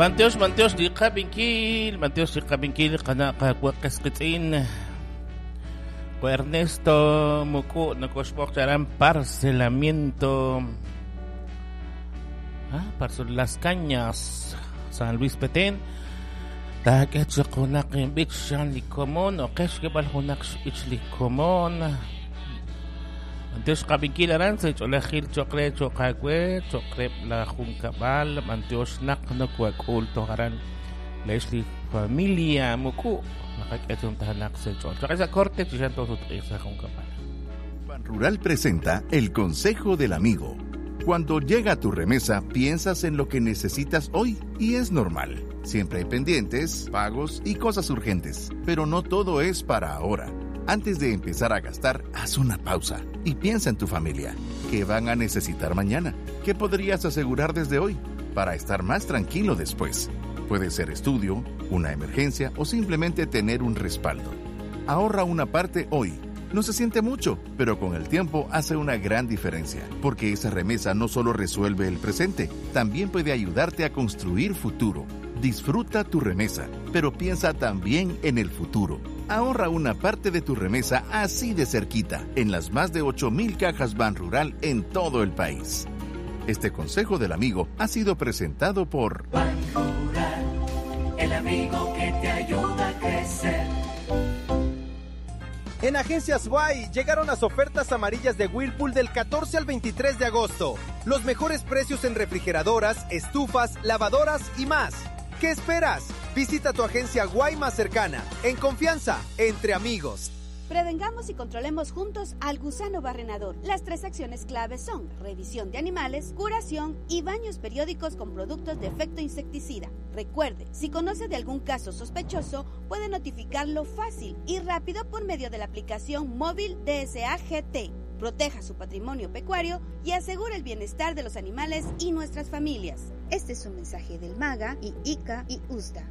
B'antiox, b'antiox li qab'inkil, b'antiox li qab'inkil qana' qawa' qas qiitz'in. Wa Ernesto Muku' nokoxb'oq charan parcelamiento. Ah, Parcel Las Cañas, San Luis Petén. Taak'e chaq junaq inb'ich xan li komon o qex xk'eb'al junaq xb'ich li komon. B'antiox qab'inkil aran sa' ch'oolejil cho'q re cho'q aawe, cho'q reheb' la junkab'al, b'antiox naq nokowak'ul toj aran leex li familia Muku' naqak'e chuntajanaq sa' ch'ool. Cho'q sa' corte chi xan toosutq'iiq sa' junkab'al. Banrural presenta el consejo del amigo. Cuando llega tu remesa, piensas en lo que necesitas hoy y es normal. Siempre hay pendientes, pagos y cosas urgentes, pero no todo es para ahora. Antes de empezar a gastar, haz una pausa y piensa en tu familia. ¿Qué van a necesitar mañana? ¿Qué podrías asegurar desde hoy para estar más tranquilo después? Puede ser estudio, una emergencia o simplemente tener un respaldo. Ahorra una parte hoy. No se siente mucho, pero con el tiempo hace una gran diferencia, porque esa remesa no solo resuelve el presente, también puede ayudarte a construir futuro. Disfruta tu remesa, pero piensa también en el futuro. Ahorra una parte de tu remesa así de cerquita, en las más de 8.000 cajas Banrural en todo el país. Este consejo del amigo ha sido presentado por Banrural, el amigo que te ayuda a crecer. En Agencias Y llegaron las ofertas amarillas de Whirlpool del 14 al 23 de agosto. Los mejores precios en refrigeradoras, estufas, lavadoras y más. ¿Qué esperas? Visita tu agencia Guay más cercana, en confianza, entre amigos. Prevengamos y controlemos juntos al gusano barrenador. Las tres acciones claves son revisión de animales, curación y baños periódicos con productos de efecto insecticida. Recuerde, si conoce de algún caso sospechoso, puede notificarlo fácil y rápido por medio de la aplicación móvil DSAGT. Proteja su patrimonio pecuario y asegure el bienestar de los animales y nuestras familias. Este es un mensaje del MAGA y ICA y USDA.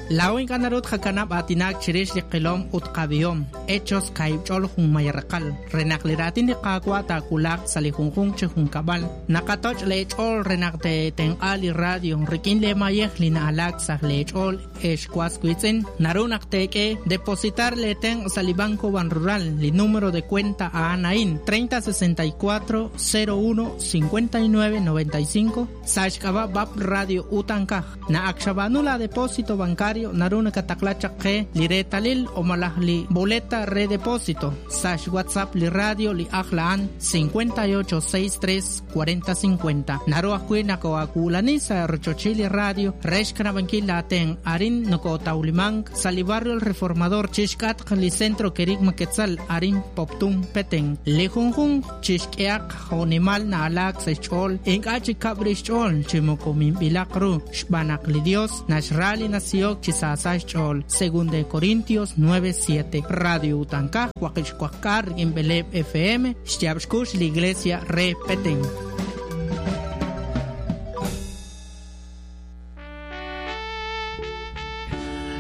Laa'o ink'a' naru tqakanab' aatinak chirix li qilom ut qab'ihom, Hechos kaahib' ch'ol junmayaraqal, re naq li raatin li Qaawa' taawulaq sa' li junjunq chi junkab'al. Naqatoch' lee ch'ool re naq teetenq'a li radio rik'in lee mayej li na'alaak sa' lee ch'ool, ex was wiitz'in. Naru naq teek'e depositar lee tenq' sa' li Banco Banrural, li número de cuenta a'an a'in, 30 64 01 59 95, sa' xk'ab'a' BAP Radio Utankaj. Naq ak xab'aanu la depósito bancario naru nakataqla chaq qe li reetalil o malaj li boleta re depósito sa' xWhatsApp li radio li ajl a'an 58 63 40 50. Naru ajwi' nakoo'aawulani sa' rochochil li radio re xkanab'ankil laatenq' arin nokootawlimank sa' li barrio El Reformador chixk'atq li Centro Kerigma Quetzal arin Poptún, Petén. Li junjunq chixk'ehaq jo'nimal na'alaak sa' xch'ool, ink'a' chi kab' rix xch'ool chi moko minb'ilaq ru, xb'aan naq li Dios naxra li nasihok chi saasa xch'ool, Segunda de Corintios 9, 7. Radio Utankaj, waqib' xwaqk'aal rik'in b'eleeb' FM, xyaab' xkux li Iglesia re Petén.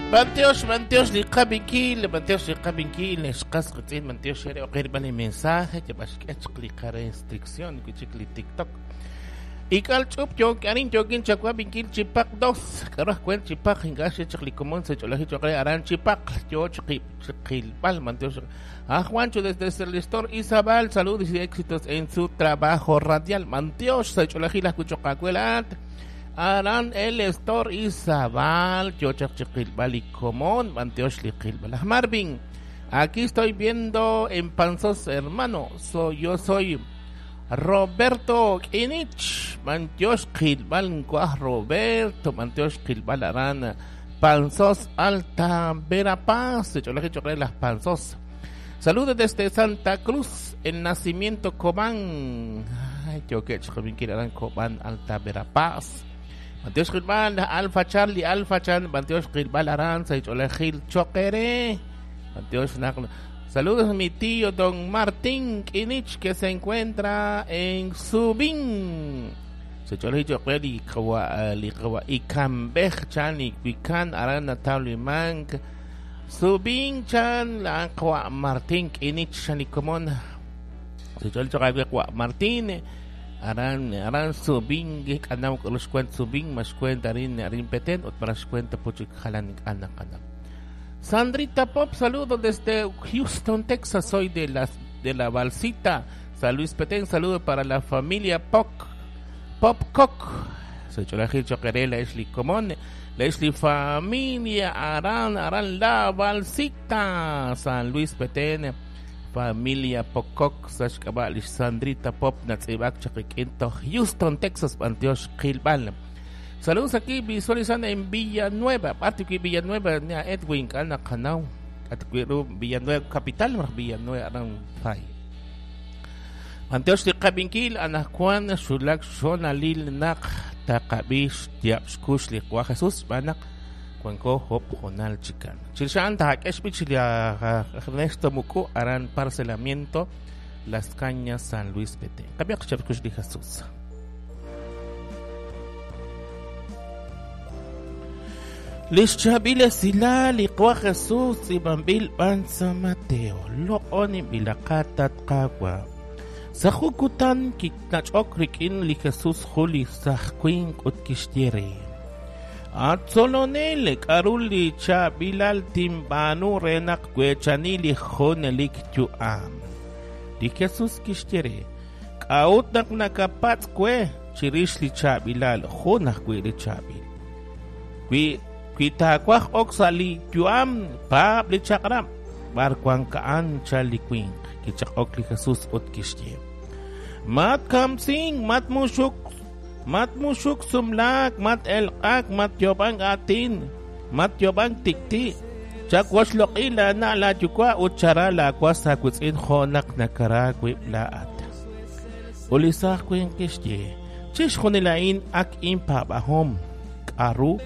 B'antiox, b'antiox li qab'inkil, b'antiox li qab'inkil, xqas qitz'in, b'antiox xere oqerb'al li mensaje, yab'axk'e chaq li qarestricción, wi chik li TikTok. Ik'al ch'up yook arin yookin chawab'inkil chi paq dos, k'aru aj kwent chi paq ink'a' xe chaq li komon sa' ch'oolajil cho'q re aran chi paq yoo chiqilb'al, b'antiox. A Juancho desde el Store Izabal, saludos y éxitos en su trabajo radial. B'antiox sa' ch'oolajil ajwi' cho'q aawe laat. Aran el Store Izabal, yo chaq chiqilb'al li komon, b'antiox li qilb'al. Aj Marvin, aquí estoy viendo en Panzós, hermano. Yo soy Roberto Kinich, b'antiox qilb'al nkuaj Roberto, b'antiox qilb'al aran Panzós Alta Verapaz, ch'oolajil cho'q re las Panzós. Saludos desde Santa Cruz, el nacimiento Cobán. Ay, yo que chiqabinkil aran Cobán Alta Verapaz. B'antiox qilb'al Alfa Charlie, Alfa Chan, b'antiox qilb'al aran, sa ch'oolajil choqere. B'antiox naq. Saludos a mi tío don Martín Kinich que se encuentra en Subín. Se ch'oolajil choq re li qawa li qawa ikambej chan iwikan aran natawlimank. Subín chan la qawa Martín Kinich chan ikomon. Se ch'oolajil choq re qawa Martín. Aran aran subin k'anaw k'aru xkuent subin ma xkuent arin arin Petén ut mara xkuent puchik jalan k'ana k'anaw. Sandrita Pop, saludos desde Houston, Texas. Soy de la Balsita, San Luis Petén. Saludo para la familia Pop Popcock. Soy Cholajil Choqueré, la Esli Comón, la Esli familia Aran, Aran la Balsita, San Luis Petén. Familia Pocock, Sashkaba, Sandrita Pop, Natzibak, Chaquiquinto, Houston, Texas, Antioch, Gilbal. Saludos aquí visualizando en Villanueva, Atiqui Villanueva, Edwin, Ana Canau, Atiqui Villanueva, Capital, Villanueva, Aran Fay. Antioch de Cabinkil, Ana Juan, Shulak, Shonalil, Nak, Takabish, Tiapskush, Liqua Jesús, Banak, Cuenco, Hop, Jonal, Chican. Chilchan, Tajak, Ernesto Muku, Aran, Parcelamiento, Las Cañas, San Luis Petén. Cambia, Jesús. Lixchabile sila liqwa Jesús ibambil bansa Mateo lo'onim bilaqatat qawa sajukutan kitnach'ok rikin li Jesús juli sajkuin utkixtiere atzolonel k'aruli chabilal timbanu renaq kwechanili jonelik yu'am li Jesús kixtiere k'aut naq nakapatz kwe chirix li chabilal junaj kwi li chabil kwi Kitakwaj oksali yuam pab li chakram barkwan kaan chalikwin kichak li Jesús utkixye mat kamsing mat mushuk sumlak mat elqak mat yobang atin mat yobang tikti chakwash loqila na la yukwa utchara la kwasa kutzin jonak nakarakwib laat ulisakwin kixye chixjunilain ak impabahom aru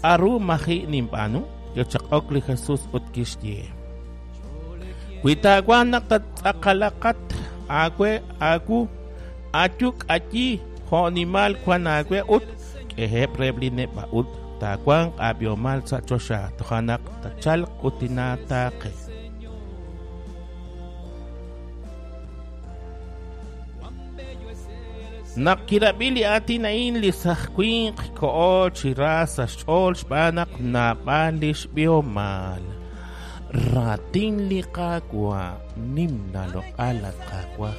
Aru maji nimpanu, yochak li Jesús utkixye. Witaguanak tatzakalakat, agwe agu, ayuk ayi, jonimal kwan agwe ut, kehe prebline baut, taguan abiomal sachosha, tojanak tachal kutinatake. Nakirabili atinain li sajkuin ko'o chirasa xol xb'anak nab'alix biomal. Ratin li qakwa nimna loq'alat qakwa.